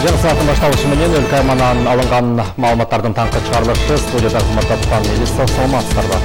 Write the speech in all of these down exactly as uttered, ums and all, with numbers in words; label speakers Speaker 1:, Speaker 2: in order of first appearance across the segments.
Speaker 1: Жаңы сааттын башталышы менен өлкө аймагынан алынган маалыматтардын таңкы чыгарылышы студияда кызматтаткан Элиса саламатсыздарбы.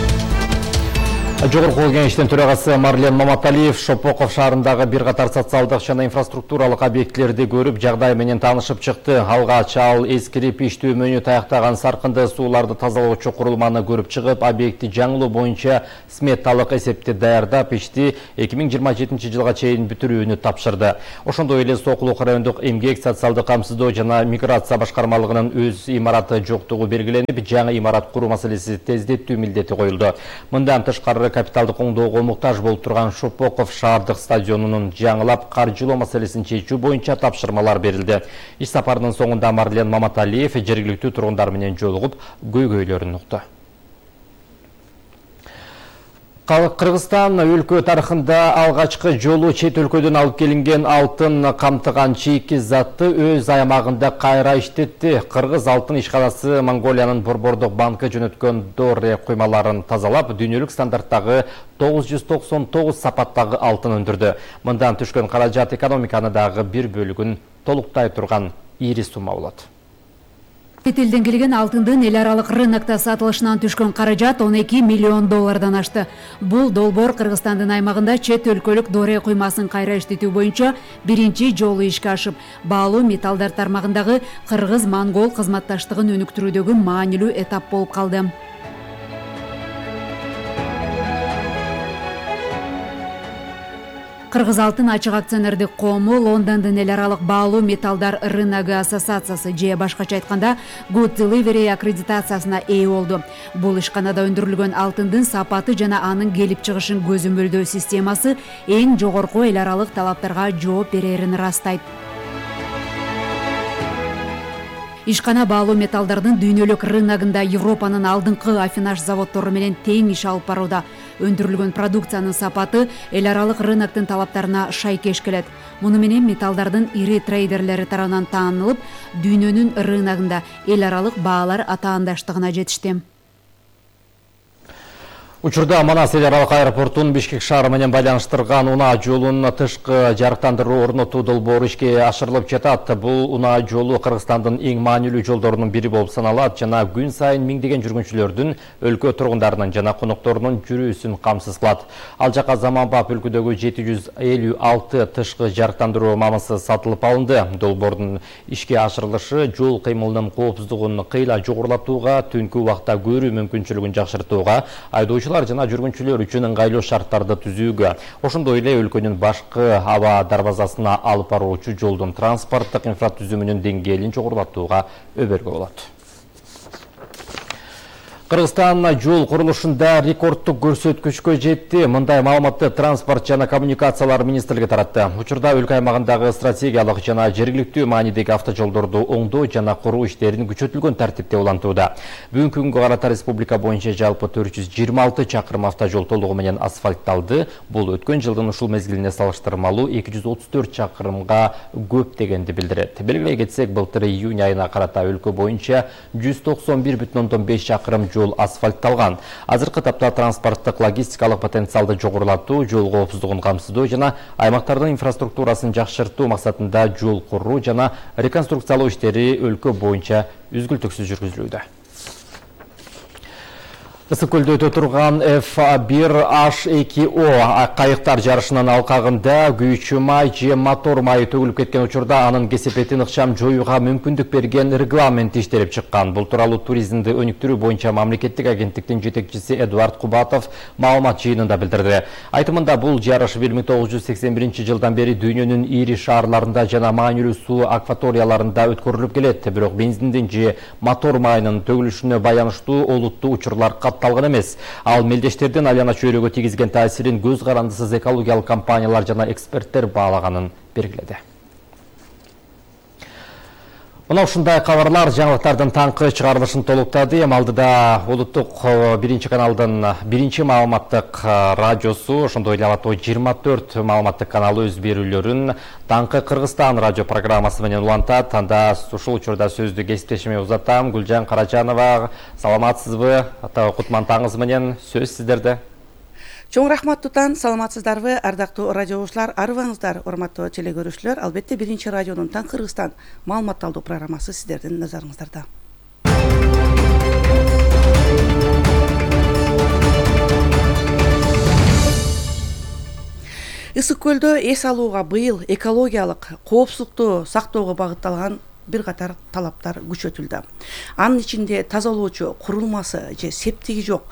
Speaker 1: Жогорку кеңештин төрагасы Марлен Маматалиев Шопоков шаарындагы бир катар социалдык жана инфраструктуралык объектилерди көрүп, жагдай менен таанышып чыкты. Алгач ал эскирип иштөө мөөнү таяктаган саркынды сууларды тазалоочу курулманы көрүп чыгып, объекти жаңылоо боюнча сметалык эсепти даярдап, ишти эки миң жыйырма жетинчи жылга чейин бүтүрүүнү тапшырды. Ошондой эле Сокулук райондук эмгек, социалдык камсыздоо жана миграция башкармалыгынын өз имараты жоктугу белгиленип, жаңы имарат куруу маселеси тездетүү милдети коюлду. Мындан тышкары капиталдык оңдоого муктаж болуп турган Шопоков шаардык стадионунун жаңылап каржылоо маселесин чечүү боюнча тапшырмалар берилди. Иш сапарынын соңунда Марлен Маматалиев жергиликтүү тургундар менен жолугуп, көйгөйлөрүн укту. Кыргызстан өлкө тарыхында алгачкы жолу чет өлкөдөн алып келинген алтын камтыган чийки затты өз аймагында кайра иштетти. Кыргыз алтын ишканасы Монголиянын Борбордук банкы жөнөткөн доре куймаларын тазалап, дүйнөлүк стандарттагы тогуз жүз токсон тогуз сапаттагы алтын өндүрдү. Мындан түшкөн каражат экономиканы дагы бир бөлүгүн толуктай турган ири сумма болот.
Speaker 2: Чет элден келген алтындын эл аралык рынокто сатылышынан түшкөн каражат он эки миллион доллардан ашты. Бул долбоор Кыргызстандын аймагында чет өлкөлүк доре куймасын кайра иштетүү боюнча биринчи жолу ишке ашып, баалуу металлдар тармагындагы кыргыз-монгол кызматташтыгын өнүктүрүүдөгү маанилүү этап болуп калды. Кыргыз алтын ачык акционердик коому Лондондун эл аралык баалуу металлдар рыногу ассоциациясы же башкача айтканда Good Delivery аккредитациясына ээ болду. Бул ишканада өндүрүлгөн алтындын сапаты жана анын келип чыгышын көзөмөлдөө системасы эң жогорку эл аралык талаптарга жооп берерин ырастайт. Ишкана баалуу металлдардын дүйнөлүк рыногунда Европанын алдыңкы аффинаж заводдору менен тең иш алып барууда. Өндүрүлгөн продукциянын сапаты эл аралык рыноктун талаптарына шайкеш келет. Муну менен металлдардын ири трейдерлери тарабынан таанылып, дүйнөнүн рыногунда эл аралык баалар атаандаштыгына жетишти.
Speaker 1: Учурда Манас эл аралык аэропортун Бишкек шаары менен байланыштырган унаа жолунун тышкы жарыктандыруу орнотуу долбоору ишке ашырылып жатат. Бул унаа жолу Кыргызстандын эң маанилүү жолдорунун бири болуп саналат жана күн сайын миңдеген жүргүнчүлөрдүн, өлкө тургундарынын жана конокторунун жүрүүсүн камсыз кылат. Ал жака заманбап өлкөдөгү жети жүз элүү алты тышкы жарыктандыруу мамысы сатылып алынды. Долбоордун ишке ашырылышы жол кыймылынын коопсуздугун кыйла жогорулатууга, түнкү убакта көрүү мүмкүнчүлүгүн жакшыртууга, айдоочулар жана жүргүнчүлөр үчүн ыңгайлуу шарттарды түзүүгө, ошондой эле өлкөнүн башкы аба дарбазасына алып баруучу жолдун транспорттук инфратүзүмүнүн деңгээлин жогорулатууга өбөлгө болот. Кыргызстан жол курулушунда рекордтук көрсөткүчкө жетти. Мындай маалыматты Транспорт жана коммуникациялар министрлиги таратты. Учурда өлкө аймагындагы стратегиялык жана жергиликтүү маанидеги автожолдорду оңдоо жана куруу иштерин күчөтүлгөн тартипте улантууда. Бүгүнкү күнгө карата республика боюнча жалпы төрт жүз жыйырма алты чакырым автожол толугу менен асфальтталды. Бул өткөн жылдын ушул мезгилине салыштырмалуу эки жүз отуз төрт чакырымга көп дегенди билдирет. Белгилей кетсек, былтыр июнь айына карата өлкө боюнча жүз токсон бир бүтүн ондон беш чакырым жол асфальтталган. Азыркы тапта транспорттук логистикалык потенциалды жогорулатуу, жол коопсуздугун камсыздоо жана аймактардын инфраструктурасын жакшыртуу максатында жол куруу жана реконструкциялоо иштери өлкө боюнча үзгүлтүксүз жүргүзүлүүдө. Ысык көлдө өтө турган эф бир аш эки о кайыктар жарышынын алкагында күйүүчү май же мотор майы төгүлүп кеткен учурда анын кесепетин ыкчам жоюуга мүмкүндүк берген регламент иштелип чыккан. Бул тууралуу туризмди өнүктүрүү боюнча мамлекеттик агенттиктин жетекчиси Эдуард Кубатов маалымат жыйынында билдирди. Айтымында, бул жарыш бир миң тогуз жүз сексен биринчи жылдан бери дүйнөнүн ири шаарларында жана маанилүү суу акваторияларында өткөрүлүп келет. Бирок бензиндин же мотор майынын төгүлүшүнө баяныштуу олуттуу учурлар талган эмес. Ал мелдештердин айлана чөйрөгө тийгизген таасирин көз карандысыз экологиялык компаниялар жана эксперттер баалаганын белгиледи. Мына ушундай кабарлар жаңылыктардын таңкы чыгарылышын толуктады. Эми алдыда улуттук биринчи каналдын биринчи маалыматтык радиосу, ошондой эле Алатоо жыйырма төрт маалыматтык каналы өз берүүлөрүн таңкы Кыргызстан радио программасы менен улантат. Анда ушул учурда сөздү кесиптешиме узатам. Гүлжан Каражанова, саламатсызбы? Ата Кутман таңыңыз менен сөз сиздерде.
Speaker 3: Чоң рахмат тутан, саламатсыздарбы, ардактуу радио угуучулар, арыбаңыздар, урматтуу теле көрүүчүлөр. Албетте биринчи радионун Таң Кыргызстан маалыматталдуу программасы сиздердин назарыңыздарда. Ысык көлдө эс алууга быйыл экологиялык коопсуздукту сактоого багытталган бир катар талаптар күчөтүлдү. Анын ичинде тазалоочу курулмасы же септиги жок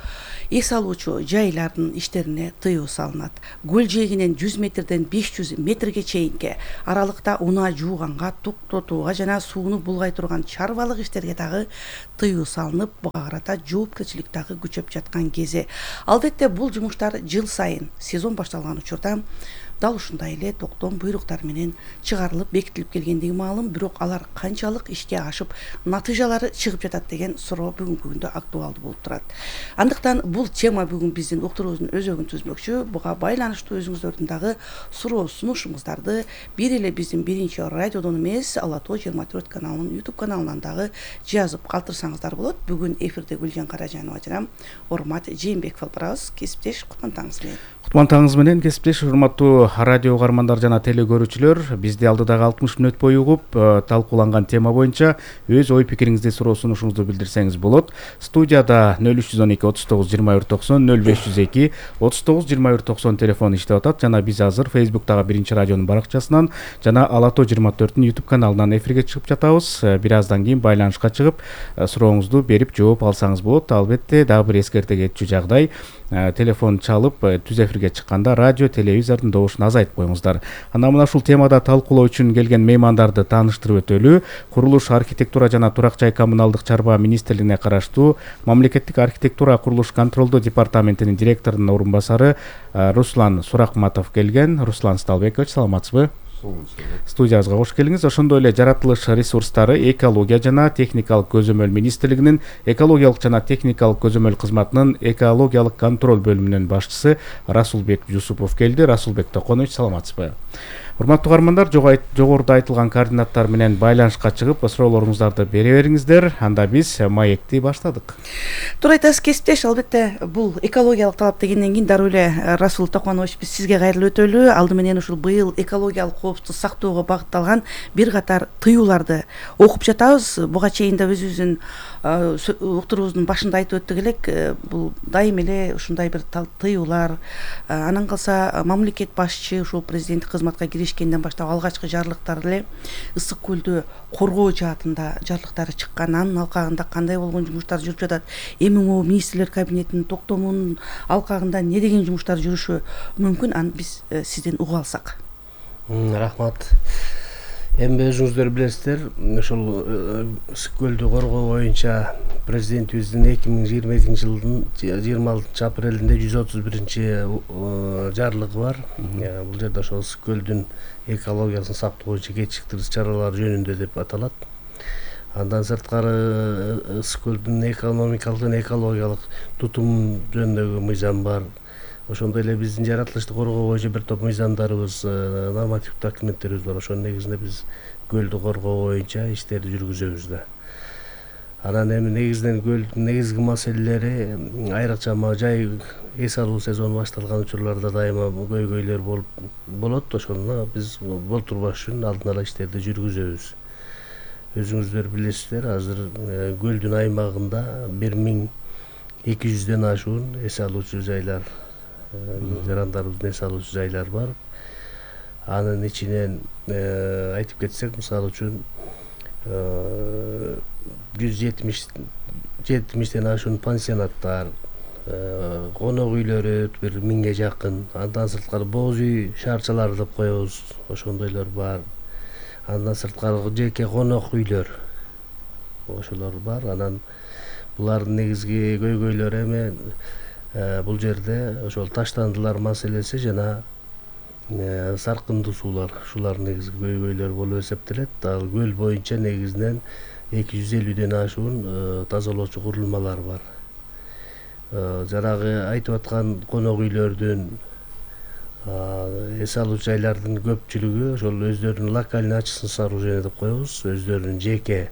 Speaker 3: эс алуучу жайлардын иштерине тыюу салынат. Көл жээгинен жүз метрден беш жүз метрге чейинки аралыкта унаа жууганга, токтотууга жана сууну булгай турган чарбалык иштерге дагы тыюу салынып, буга карата жоопкерчилик дагы күчөп жаткан кези. Албетте бул жумуштар жыл сайын сезон башталган учурда дал ушундай эле токтом буйруктар менен чыгарылып бекитилип келгендиги маалым, бирок алар канчалык ишке ашып, натыйжалары чыгып жатат деген суроо бүгүнкү күндө актуалдуу болуп турат. Андыктан бул тема бүгүн биздин уктуруубуздун өзөгүн түзмөкчү. Буга байланыштуу өзүңүздөрдүн дагы суроо сунушуңуздарды бир эле биздин биринчи радиодон эмес, Ала тоо жыйырма төрт каналынын YouTube каналынан дагы жазып калтырсаңыздар болот. Бүгүн эфирде Гүлжан Каражанова жана Урмат Жээнбеков алып барабыз. Кесиптеш, кутман таңыңыз менен.
Speaker 4: Кутман таңыңыз менен, кесиптеш, урматтуу радио угармандар жана теле көрүүчүлөр. Бизди алдыдагы алтымыш мүнөт бою угуп, талкууланган тема боюнча өз ой пикириңизди, суроо сунушуңузду билдирсеңиз болот. Студияда нөл үч жүз он эки отуз тогуз жыйырма бир токсон, нөл беш жүз эки отуз тогуз жыйырма бир токсон телефон иштеп атат жана биз азыр Facebook'тагы биринчи радионун баракчасынан жана Ала тоо жыйырма төрттүн YouTube каналынан эфирге чыгып жатабыз. Бир аздан кийин байланышка чыгып, сурооңузду берип жооп алсаңыз болот. Албетте дагы бир эскерте кетчү жагдай, телефон чалып түз эфирге чыкканда радио, телевизордун добушун азайтып коюңуздар. Анан мына ушул темада талкуулоо үчүн келген меймандарды тааныштырып өтөлү. Курулуш, архитектура жана турак жай коммуналдык чарба министрлигине караштуу Мамлекеттик архитектура курулуш контролдоо департаментинин директорунун орун басары Руслан Суракматов келген. Руслан Сталбекович, саламатсызбы? Студиябызга кош келиңиз. Ошондой эле жаратылыш ресурстары, экология жана техникалык көзөмөл министрлигинин экологиялык жана техникалык көзөмөл кызматынын экологиялык контроль бөлүмүнүн башчысы Расулбек Жусупов келди. Расулбек Токонович, саламатсызбы? Урматтуу угармандар, жогоруда айтылган координаттар менен байланышка чыгып, суроолоруңуздарды бере бериңиздер. Анда биз маекти баштадык.
Speaker 3: Туура айтасыз, кесиптеш. Албетте бул экологиялык талап дегенден кийин дароо эле Расул Токонович, биз сизге кайрылып өтөлү. Алды менен ушул быйыл экологиялык коопсуздукту сактоого багытталган бир катар тыюуларды окуп жатабыз. Буга чейин да өзүбүздүн уктуруубуздун башында айтып өттүк элек, бул дайым эле ушундай бир тыюулар, анан калса мамлекет башчы ушул президенттик кызматка киришкенден баштап алгачкы жарлыктар эле ысык көлдү коргоо жаатында жарлыктары чыккан. Анын алкагында кандай болгон жумуштар жүрүп жатат, эми могу министрлер кабинетинин токтомунун алкагында не деген жумуштар жүрүшү мүмкүн, аны биз сизден угуп алсак.
Speaker 5: Рахмат. Эми өзүңүздөр билесиздер, ошол ысык көлдү коргоо боюнча президентибиздин эки миң жыйырма экинчи жылдын жыйырма алтынчы апрелинде жүз отуз биринчи жарлыгы бар. Бул жерде ошол ысык көлдүн экологиясын сактоо боюнча кечиктирүүсүз чаралар жөнүндө деп аталат. Андан сырткары ысык көлдүн экономикалык жана экологиялык тутум жөнүндөгү мыйзам бар. Ошондой эле биздин жаратылышты коргоо боюнча бир топ мыйзамдарыбыз, нормативдик документтерибиз бар. Ошонун негизинде биз көлдү коргоо боюнча иштерди жүргүзөбүз да. Анан эми негизинен көлдүн негизги маселелери, айрыкча жай эс алуу сезону башталган учурларда дайыма көйгөйлөр болуп болот. Ошону биз болтурбаш үчүн алдын ала иштерди жүргүзөбүз. Өзүңүздөр билесиздер, азыр көлдүн аймагында бир миң эки жүздөн ашуун эс алуучу жайлар, жарандарыбыздын эс алуучу жайлар бар. Анын ичинен айтып кетсек, мисалы үчүн жүз жетимиштен ашуун пансионаттар, конок үйлөрү бир миңге жакын, андан сырткары боз үй шаарчалары деп коебуз, ошондойлор бар. Андан сырткары жеке конок үйлөр, ошолор бар. Анан булардын негизги көйгөйлөрү эми бул жерде ошол таштандылар маселеси жана саркындуу суулар, ушулар негизги көйгөйлөр болуп эсептелет. Ал көл боюнча негизинен эки жүз элүүдөн ашуун тазалоочу курулмалар бар. Жанагы айтып аткан конок үйлөрдүн, эс алуу жайлардын көпчүлүгү ошол өздөрүнүн локальный очистный сооружение деп коебуз, өздөрүнүн жеке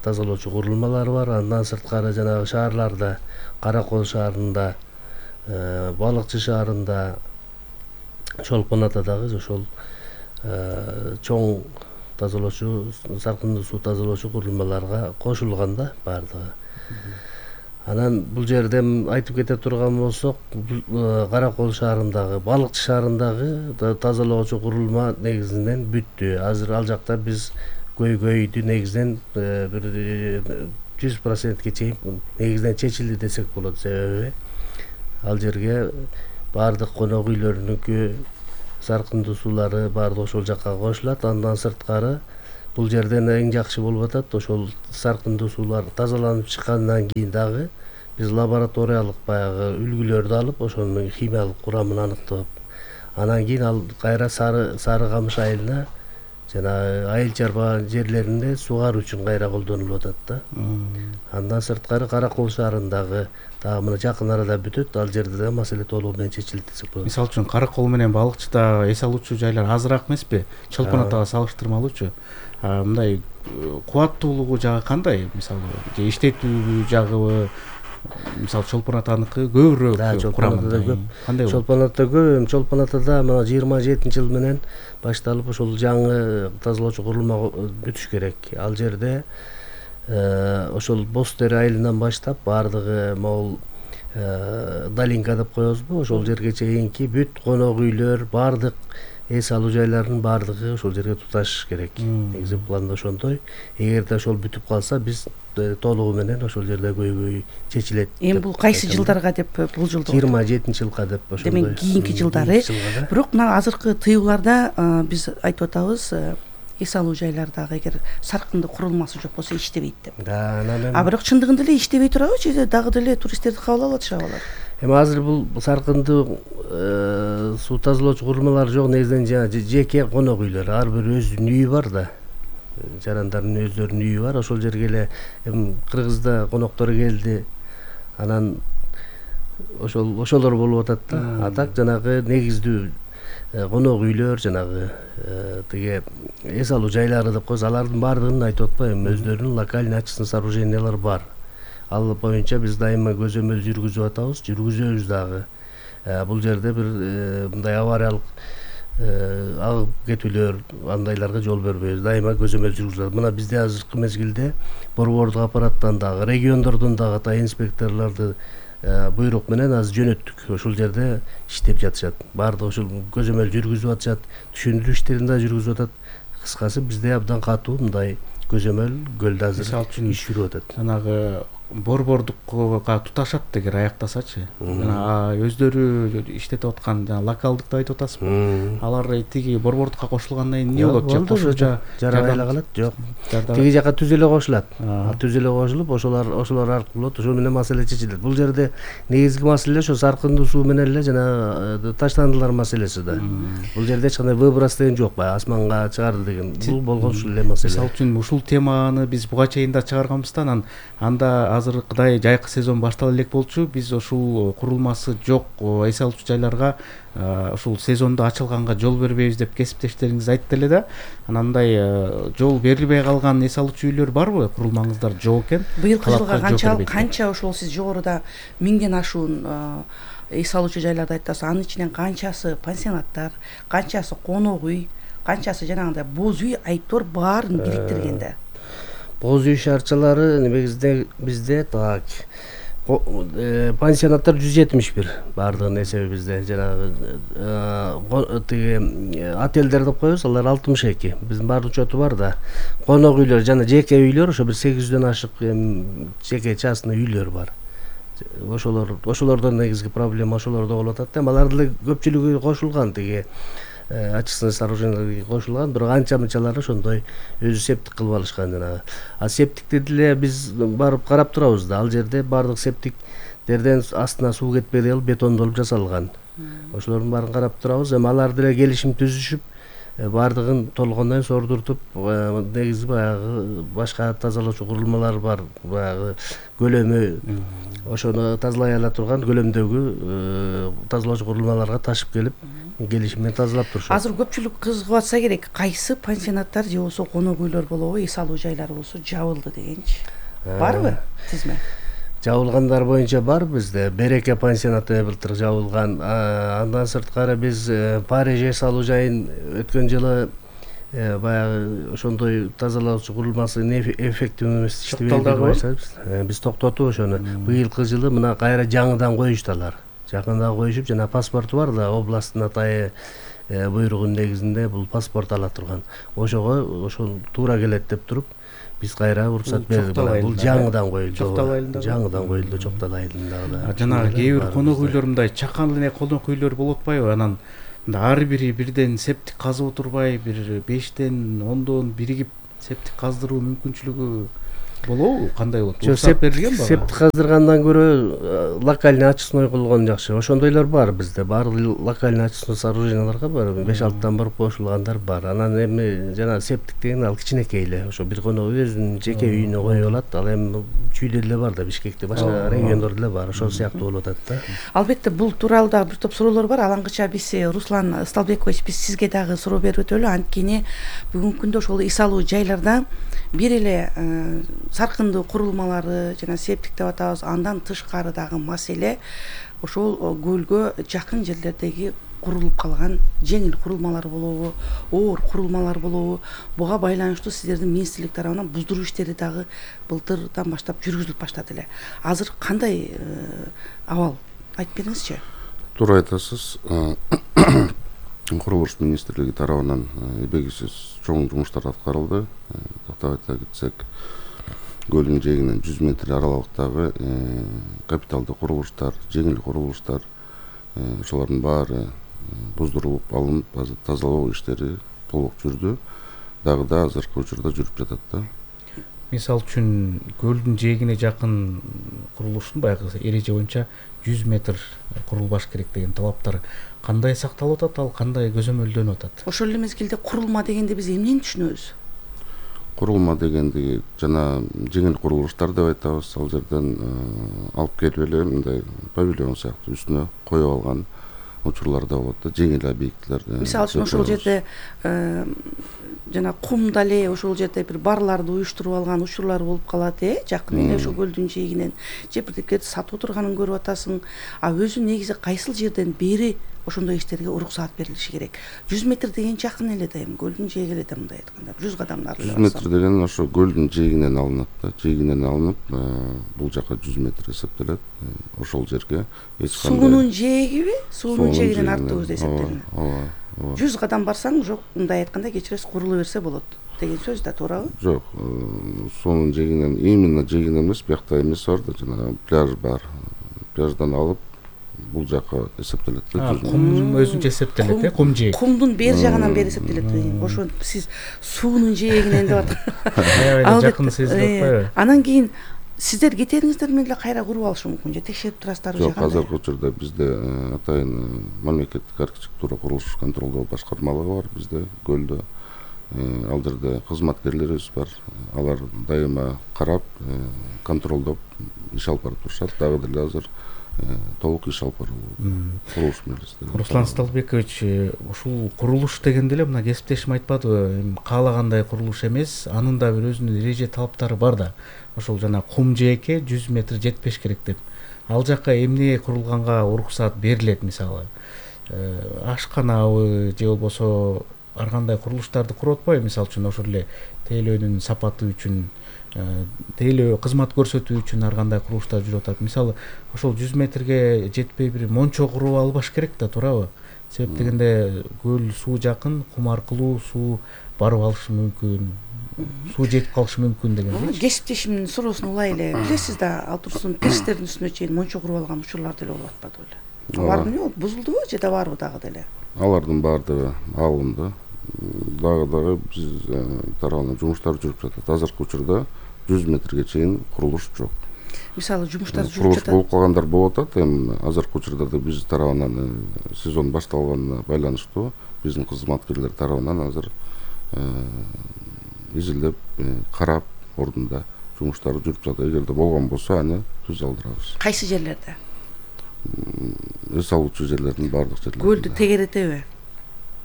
Speaker 5: тазалоочу курулмалары бар. Андан сырткары жанагы шаарларда, Кара Кол шаарында Балыкчы шаарында, Чолпон Атадагы ошол чоң тазалоочу, саркындуу суу тазалоочу курулмаларга кошулган да баардыгы. Анан бул жерде айтып кете турган болсок, Каракол шаарындагы, Балыкчы шаарындагы тазалоочу курулма негизинен бүттү. Азыр ал жакта биз көйгөйдү негизинен бир жүз процентке чейин негизинен чечилди десек болот. Себеби ал жерге баардык конок үйлөрүнүкү саркындуу суулары баардыгы ошол жакка кошулат. Андан сырткары бул жерден эң жакшы болуп атат, ошол саркындуу суулар тазаланып чыккандан кийин дагы биз лабораториялык баягы үлгүлөрдү алып, ошонун химиялык курамын аныктап, анан кийин ал кайра Сары Сары Камыш айылына жана айыл чарба жерлеринде суугаруу үчүн кайра колдонулуп атат да. Андан сырткары Каракол шаарындагы дагы мына жакын арада бүтөт, ал жерде да маселе толугу менен чечилет десек болот.
Speaker 4: Мисалы үчүн Каракол менен Балыкчыда эс алуучу жайлар азыраак эмеспи? Чолпон Атага салыштырмалуучу. Мындай кубаттуулугу жагы кандай? Мисалы, же иштетүү жагыбы, мисалы Чолпон Атаныкы көбүрөөк курамында көп. Кандай болот?
Speaker 5: Чолпон Ата көп, Чолпон Атада мына жыйырма жетинчи жыл менен башталып ошол жаңы тазалоочу курулма бүтүш керек. Ал жерде ошол Бостер айылынан баштап баардыгы могул Долинка деп коебузбу, ошол жерге чейинки бүт конок үйлөр, баардык эс алуу жайларынын баардыгы ошол жерге туташ керек. Негизи планда ошондой. Эгерде ошол бүтүп калса, биз толугу менен ошол жерде көйгөй чечилет.
Speaker 3: Эми бул кайсы жылдарга деп болжолдоп?
Speaker 5: жыйырма жетинчи жылга деп ошондой.
Speaker 3: Демек кийинки жылдары. Бирок мына азыркы тыюуларда биз айтып атабыз, эс алуу жайлардагы эгер саркындуу курулмасы жок болсо иштебейт деп.
Speaker 5: Да, анан
Speaker 3: А бирок чындыгында эле иштебей турабы, же дагы деле туристтерди кабыл алып атышабы алар?
Speaker 5: Эми азыр бул саркындуу суу тазалоочу курулмалар жок, негизинен жеке конок үйлөр, ар бир өзүнүн үйү бар да. Жарандардын өздөрүнүн үйү бар. Ошол жерге эле эми Кыргызда коноктор келди. Анан ошол ошолор болуп атат да. А так жанагы негиздүү конок үйлөр, жанагы тиги эс алуу жайлары деп коебуз, алардын баардыгын айтып атпайбы, өздөрүнүн локальный очистный сооружениялар бар. Ал боюнча биз дайыма көзөмөл жүргүзүп атабыз, жүргүзөбүз дагы. Бул жерде бир мындай авариялык агып кетүүлөр, андайларга жол бербейбиз. Дайыма көзөмөл жүргүзүп. Мына бизде азыркы мезгилде борбордук аппараттан дагы, региондордон дагы та инспекторлорду буйрук менен азыр жөнөттүк. Ошол жерде иштеп жатышат. Баардыгы ошол көзөмөл жүргүзүп атышат, түшүндүрүү иштерин да жүргүзүп атат. Кыскасы бизде абдан катуу мындай көзөмөл көлдө азыр иш жүрүп атат.
Speaker 4: Жанагы борбордукка туташат дегер аяктасачы. Жана өздөрү иштетип аткан жана локалдыкты айтып атасызбы? Алар тиги борбордукка кошулгандан кийин эмне болот? Же кошумча
Speaker 5: жарабай эле калат? Жок. Тиги жака түз эле кошулат. Түз эле кошулуп, ошолор ошолор аркылуу болот. Ошол менен маселе чечилет. Бул жерде негизги маселе ошо саркындуу суу менен эле жана таштандылар маселеси да. Бул жерде эч кандай выброс деген жок, баягы асманга чыгарды деген. Бул болгон ушул эле маселе.
Speaker 4: Мисалы үчүн ушул теманы биз буга чейин да чыгарганбыздан, анда азыркыдай жайкы сезон баштала элек болчу. Биз ушул курулмасы жок эс алуучу жайларга ушул сезондо ачылганга жол бербейбиз деп кесиптештериңиз айтты эле да. Анандай жол берилбей калган эс алуучу үйлөр барбы? Курулмаңыздар жок экен.
Speaker 3: Быйылкы жылга канча канча ошол сиз жогоруда миңден ашуун эс алуучу жайларды айттыңыз. Анын ичинен канчасы пансионаттар, канчасы конок үй, канчасы жанагындай боз үй, айтор баарын бириктиргенде?
Speaker 5: Боз үй шаарчалары негизинде бизде так пансионаттар жүз жетимиш бир баардыгынын эсеби бизде. Жанагы тиги отелдер деп коебуз, алар алтымыш эки. Биздин бар учету бар да. Конок үйлөр жана жеке үйлөр ошо бир сегиз жүздөн ашык жеке частный үйлөр бар. Ошолор ошолордон негизги проблема ошолордо болуп атат. Алар деле көпчүлүгү кошулган тиги очистный сооруженияларга кошулган, бирок анча-мынчалары ошондой өзү септик кылып алышкан жанагы. А септикти деле биз барып карап турабыз да. Ал жерде баардык септиктерден астына суу кетпей деле бетондолуп жасалган. Ошолордун баарын карап турабыз. Эми алар деле келишим түзүшүп, баардыгын толгондон сордуртуп, негизи баягы башка тазалоочу курулмалар бар, баягы көлөмү ошону тазалай ала турган көлөмдөгү тазалоочу курулмаларга ташып келип, келишим менен тазалап турушат.
Speaker 3: Азыр көпчүлүк кызыгып атса керек, кайсы пансионаттар же болбосо конок үйлөр болобу, эс алуу жайлары болсо жабылды дегенчи. Барбы тизме?
Speaker 5: Жабылгандар боюнча бар бизде. Береке пансионаты былтыр жабылган. Андан сырткары биз Париж эс алуу жайын өткөн жылы баягы ошондой тазалоочу курулмасы эффективдүү эмес иштебейт. Биз токтотуп ошону. Быйылкы жылы мына кайра жаңыдан коюшталар. Жакында коюшуп, жана паспорту бар да, областтын атайы буйругунун негизинде бул паспорт ала турган. Ошого ошол туура келет деп туруп, биз кайра уруксат бердик. Бул жаңыдан коюлду.
Speaker 4: Чоктал айылында.
Speaker 5: Жаңыдан коюлду Чоктал айылында.
Speaker 4: Жанагы кээ бир конок үйлөр мындай чакан эле конок үйлөр болуп атпайбы? Анан ар бири бирден септик казып отурбай, бир бештен ондон биригип септик каздыруу мүмкүнчүлүгү болобу? Кандай болот? Уруксат берилген ба?
Speaker 5: Септик каздыргандан көрө локальный очистной кылган жакшы. Ошондойлор бар бизде. Баардык локальный очистной сооруженияларга бар. беш алтыдан барып кошулгандар бар. Анан эми жана септик деген ал кичинекей эле. Ошо бир конок өзүнүн жеке үйүнө коюп алат. Ал эми чүйдө деле бар да, Бишкекте, башка региондордо деле бар. Ошол сыяктуу болуп атат да.
Speaker 3: Албетте бул тууралуу дагы бир топ суроолор бар. Алаңгыча биз Руслан Сталбекович биз сизге дагы суроо берип өтөлү. Анткени бүгүнкү күндө ошол эс алуу жайларда бир эле саркындуу курулмалары жана септик деп атабыз, андан тышкары дагы маселе ошол көлгө жакын жерлердеги курулуп калган жеңил курулмалар болобу, оор курулмалар болобу, буга байланыштуу сиздердин министрлик тарабынан буздуруу иштери дагы былтырдан баштап жүргүзүлүп баштады эле. Азыр кандай абал? Айтып бериңизчи.
Speaker 6: Туура айтасыз. Курулуш министрлиги тарабынан эбегисиз чоң жумуштар аткарылды. Тактап айта кетсек, көлдүн жээгинен жүз метр аралыктагы капиталдуу курулуштар, жеңил курулуштар, ошолордун баары буздурулуп алынып, азыр тазалоо иштери толук жүрдү. Дагы да азыркы учурда жүрүп жатат да.
Speaker 4: Мисал үчүн көлдүн жээгине жакын курулуштун баягы эреже боюнча жүз метр курулбаш керек деген талаптар кандай сакталып атат, ал кандай көзөмөлдөнүп атат?
Speaker 3: Ошол эле мезгилде курулма дегенде биз эмнени түшүнөбүз?
Speaker 6: Курулма дегенди жана жеңил курулуштар деп айтабыз. Ал жерден алып келип эле мындай павильон сыяктуу үстүнө коюп алган учурлар да болот да, жеңил объектилер.
Speaker 3: Мисалы үчүн ошол жерде жана кумда эле ошол жерде бир барларды уюштуруп алган учурлар болуп калат, э, жакын эле ошол көлдүн жээгинен же бирдектерди сатып отурганын көрүп атасың. А өзү негизи кайсыл жерден бери ошондой иштерге уруксаат берилиши керек? жүз метр деген жакын эле да, эми көлдүн жээги эле да, мындай айтканда жүз кадам нары.
Speaker 6: жүз метр деген ошо көлдүн жээгинен алынат да, жээгинен алынып, бул жака жүз метр эсептелет. Ошол жерге эч кандай
Speaker 3: суунун жээгиби, суунун жээгинен артыгы өзү эсептелинет. Ооба, ооба. жүз кадам барсаң, жок, мындай айтканда кечиресиз, курулу берсе болот деген сөз да, туурабы?
Speaker 6: Жок, суунун жээгинен, именно жээгинен эмес, биякта эмес бар да, жана пляж бар. Пляждан алып бул жака эсептелет да.
Speaker 4: Кум өзүнчө эсептелет, э, кум жээк.
Speaker 3: Кумдун бер жагынан бери эсептелет. Ошо сиз суунун жээгинен деп атат.
Speaker 4: Аябай жакын сезилип атпайбы?
Speaker 3: Анан кийин сиздер кетериңиздер менен эле кайра куруп алышы мүмкүн же текшерип турасыздарбы?
Speaker 6: Жок, азыркы учурда бизде атайын мамлекеттик архитектура курулуш контролдоо башкармалыгы бар бизде көлдө. Ал жерде кызматкерлерибиз бар. Алар дайыма карап, контролдоп иш алып барып турушат. Дагы деле азыр толук иш алып баруу курулуш милистеринде.
Speaker 4: Руслан Сталбекович, ушул курулуш дегенде эле мына кесиптешим айтпадыбы, каалагандай курулуш эмес, анын да бир өзүнүн эреже талаптары бар да. Ошол жана кум жээкке жүз метр жетпеш керек деп. Ал жакка эмне курулганга уруксаат берилет, мисалы? Ашканабы же болбосо ар кандай курулуштарды куруп атпайбы? Мисалы үчүн ошол эле тейлөөнүн сапаты үчүн, тейлөө кызмат көрсөтүү үчүн ар кандай курулуштар жүрүп атат. Мисалы, ошол жүз метрге жетпей бир мончо куруп албаш керек да, туурабы? Себеп дегенде көл суу жакын, кум аркылуу суу барып алышы мүмкүн, суу жетип калышы мүмкүн деген.
Speaker 3: Кесиптешимдин суроосун улай эле билесиз да, ал турсун пирстердин үстүнө чейин мончо куруп алган учурлар деле болуп атпады беле? Алар эмне болду? Бузулдубу же да барбы дагы деле?
Speaker 6: Алардын баардыгы алынды. Дагы дагы биз тарабынан жумуштар жүрүп жатат. Азыркы учурда жүз метрге чейин курулуш жок.
Speaker 3: Мисалы, жумуштар жүрүп
Speaker 6: курулуш
Speaker 3: жатат.
Speaker 6: болуп калгандар болуп атат. Эми азыркы учурда да биз тарабынан сезон башталганына байланыштуу биздин кызматкерлер тарабынан азыр изилдеп, карап, ордунда жумуштар жүрүп жатат. Эгерде болгон болсо, аны түз алдырабыз.
Speaker 3: Кайсы жерлерде?
Speaker 6: Эс алуучу жерлердин баардык жерлеринде.
Speaker 3: Көлдү тегеретеби?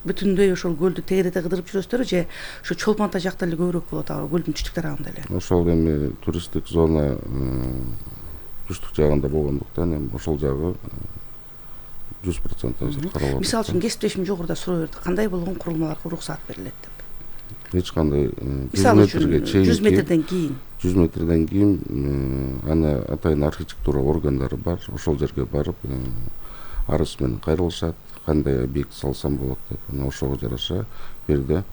Speaker 3: Бүтүндөй ошол көлдү тегерете кыдырып жүрөсүздөрбү же ошо Чолпон ата жакта эле көбүрөөк болот, а көлдүн түштүк тарабында эле?
Speaker 6: Ошол эми туристтик зона түштүк жагында болгондуктан эми ошол жагы жүз процент азыр каралып атат.
Speaker 3: Мисалы үчүн кесиптешим жогоруда суроо берди, кандай болгон курулмаларга уруксаат берилет деп.
Speaker 6: Эч кандай жүз
Speaker 3: Мисалы үчүн
Speaker 6: метрге чейин
Speaker 3: жүз метрден кийин
Speaker 6: жүз метрден кийин аны атайын архитектура органдары бар, ошол жерге барып арыз менен кайрылышат, кандай объект салсам болот деп. Анан ошого жараша берде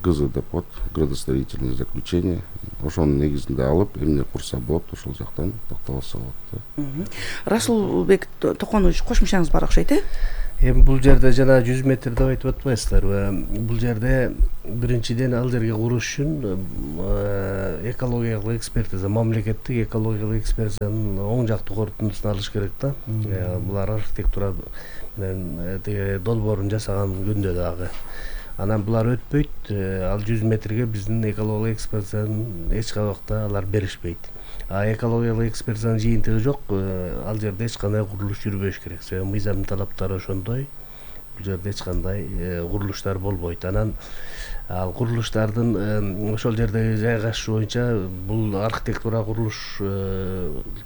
Speaker 6: ГЗ деп коет, градостроительное заключение, ошонун негизинде алып эмне курса болот, ошол жактан такталаса болот.
Speaker 3: Расулбек Токонович, кошумчаңыз бар окшойт, э?
Speaker 5: Эми бул жерде жана жүз метр деп айтып атпайсыздарбы? Бул жерде биринчиден ал жерге куруш үчүн экологиялык экспертиза, мамлекеттик экологиялык экспертизанын оң жактуу корутундусун алыш керек да. Булар архитектура менен долбоорун жасаган күндө дагы. Анан булар өтпөйт, ал жүз метрге биздин экологиялык экспертизанын эч кабакта алар беришпейт. А экологиялык экспертизанын жыйынтыгы жок, ал жерде эч кандай курулуш жүрбөш керек. Себеби мыйзамдын талаптары ошондой, бул жерде эч кандай курулуштар болбойт. Анан ал курулуштардын ошол жердеги жайгашышы боюнча бул архитектура курулуш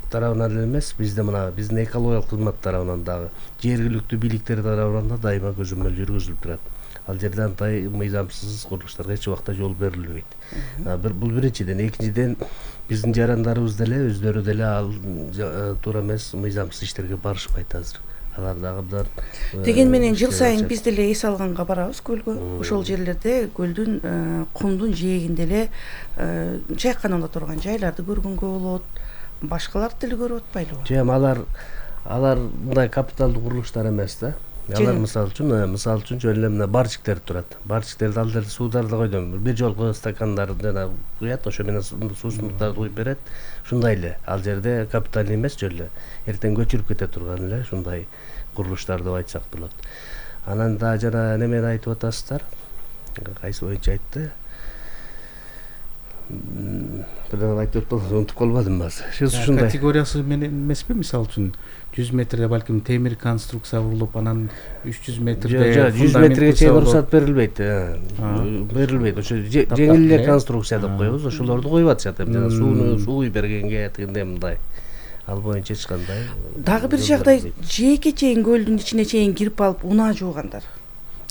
Speaker 5: тарабынан эле эмес, бизде мына биздин экологиялык кызмат тарабынан дагы, жергиликтүү бийликтер тарабынан да дайыма көзөмөл жүргүзүлүп турат. Ал жерде андай мыйзамсыз курулуштарга эч убакта жол берилбейт. Бул биринчиден, экинчиден биздин жарандарыбыз деле өздөрү деле ал туура эмес мыйзамсыз иштерге барышпайт азыр. Алар дагы абдан
Speaker 3: деген менен жыл сайын биз деле эс алганга барабыз көлгө. Ошол жерлерде көлдүн кумдун жээгинде эле чайканада турган жайларды көргөнгө болот. Башкаларды деле көрүп атпайлыбы?
Speaker 5: Жок, алар алар мындай капиталдуу курулуштар эмес да. Алар мисалы үчүн, мисалы үчүн жөн эле мына барчиктер турат. Барчиктерди ал жерде суударды койдум. Бир жолку стакандар жана куят, ошо менен суусундуктарды куюп берет. Ушундай эле. Ал жерде капиталдуу эмес жөн эле. Эртең көчүрүп кете турган эле ушундай курулуштар деп айтсак болот. Анан да жана немени айтып атасыздар? Кайсы боюнча айтты? Бирден айтып атып унутуп калбадым азыр.
Speaker 4: Ушундай категориясы менен эмеспи? Мисалы үчүн жүз метрде балким темир конструкция курулуп, анан үч жүз метрде
Speaker 5: жүз метрге чейин уруксат берилбейт. Берилбейт. Ошо жеңил эле конструкция деп коебуз. Ошолорду коюп атышат. Жана сууну суу бергенге тигиндей мындай. Ал боюнча эч кандай.
Speaker 3: Дагы бир жагдай, жээкке чейин көлдүн ичине чейин кирип алып унаа жуугандар.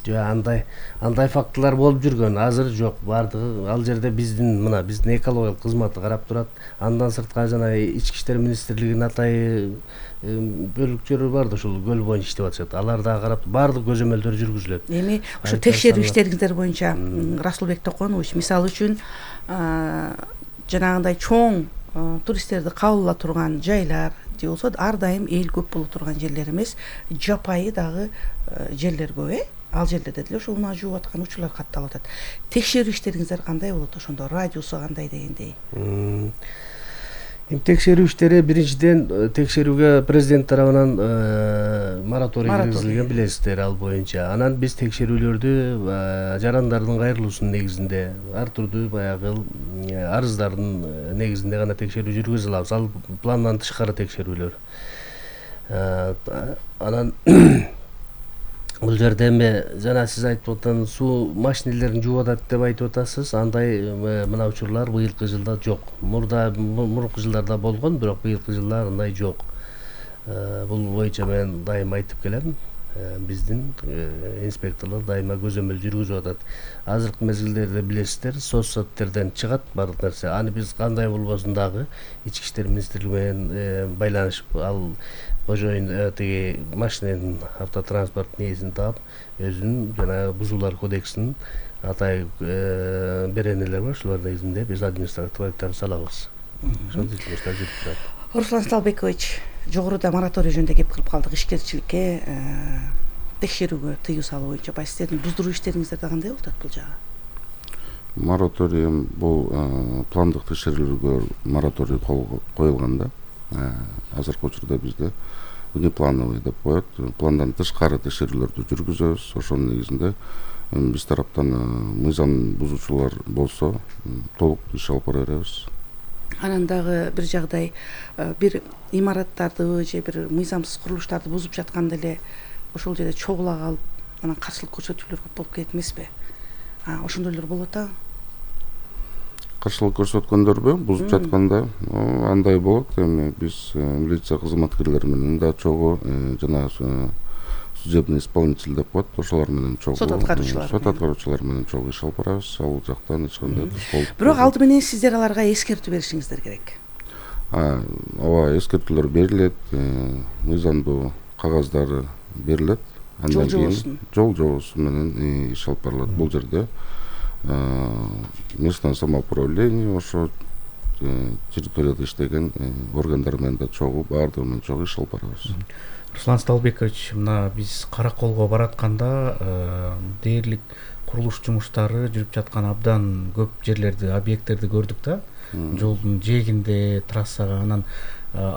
Speaker 5: Жок, андай андай фактылар болуп жүргөн. Азыр жок. Бардыгы ал жерде биздин мына биздин экологиялык кызматы карап турат. Андан сырткары жана ички иштер министрлигинин атайы бөлүкчөлөр бар да, ушул көл боюнча иштеп атышат. Алар дагы карап баардык көзөмөлдөр жүргүзүлөт.
Speaker 3: Эми ошо текшерүү иштериңиздер боюнча Расулбек Токонович, мисалы үчүн жанагындай чоң туристтерди кабыл ала турган жайлар же болсо ар дайым эл көп боло турган жерлер эмес, жапайы дагы жерлер көп, э? Ал жерлерде деле ошо унаа жууп аткан учурлар катталып атат. Текшерүү иштериңиздер кандай болот ошондо? Радиусу кандай дегендей?
Speaker 5: Эми текшерүү иштери биринчиден текшерүүгө президент тарабынан мораторий киргизилген, билесиздер ал боюнча. Анан биз текшерүүлөрдү жарандардын кайрылуусунун негизинде, ар түрдүү баягы арыздардын негизинде гана текшерүү жүргүзө алабыз. Ал пландан тышкары текшерүүлөр. Анан бул жерде эми жана сиз айтып аткан суу машинелерин жууп атат деп айтып атасыз. Андай мына учурлар быйылкы жылда жок. Мурда мурунку жылдарда болгон, бирок быйылкы жылда андай жок. Бул боюнча мен дайыма айтып келем. Биздин инспекторлор дайыма көзөмөл жүргүзүп атат. Азыркы мезгилдерде билесиздер, соцсеттерден чыгат баардык нерсе. Аны биз кандай болбосун дагы ички иштер министрлиги менен байланышып, ал кожоюн тиги машиненин автотранспорт нээсин таап, өзүнүн жана бузуулар кодексинин атай беренелери бар, ошолор негизинде биз административдик айыптарды салабыз. Ошондой жумуштар жүрүп турат.
Speaker 3: Руслан Сталбекович, жогоруда мораторий жөнүндө кеп кылып калдык. Ишкерчиликке, текшерүүгө тыюу салуу боюнча баягы сиздердин буздуруу иштериңиздерде кандай болуп атат бул жагы?
Speaker 6: Мораторий бул пландык текшерүүлөргө мораторий коюлган да. Азыркы учурда бизде внеплановый деп коет, пландан тышкары текшерүүлөрдү жүргүзөбүз. Ошонун негизинде биз тараптан мыйзам бузуучулар болсо толук иш алып бара беребиз.
Speaker 3: Анан дагы бир жагдай, бир имараттарды же бир мыйзамсыз курулуштарды бузуп жатканда эле ошол жерде чогула калып, анан каршылык көрсөтүүлөр көп болуп кетет эмеспи? Ошондойлор болуп атабы?
Speaker 6: каршылык көрсөткөндөрбү бузуп жатканда андай болот. Эми биз милиция кызматкерлери менен да чогуу жана судебный исполнитель деп коет, ошолор менен чогуу
Speaker 3: сот аткаруучулар
Speaker 6: сот аткаруучулар менен чогуу иш алып барабыз. Ал жактан эч кандай болуп.
Speaker 3: Бирок алды менен сиздер аларга эскертүү беришиңиздер керек.
Speaker 6: Ооба, эскертүүлөр берилет, мыйзамдуу кагаздары берилет.
Speaker 3: Жол жобосу
Speaker 6: жол жобосу менен иш алып барылат. Бул жерде местное самоуправление, ошо территорияда иштеген органдар менен да чогуу баардыгы менен чогуу иш алып барабыз.
Speaker 4: Руслан Сталбекович, мына биз Караколго баратканда дээрлик курулуш жумуштары жүрүп жаткан абдан көп жерлерди, объекттерди көрдүк да. Жолдун жээгинде, трассага. Анан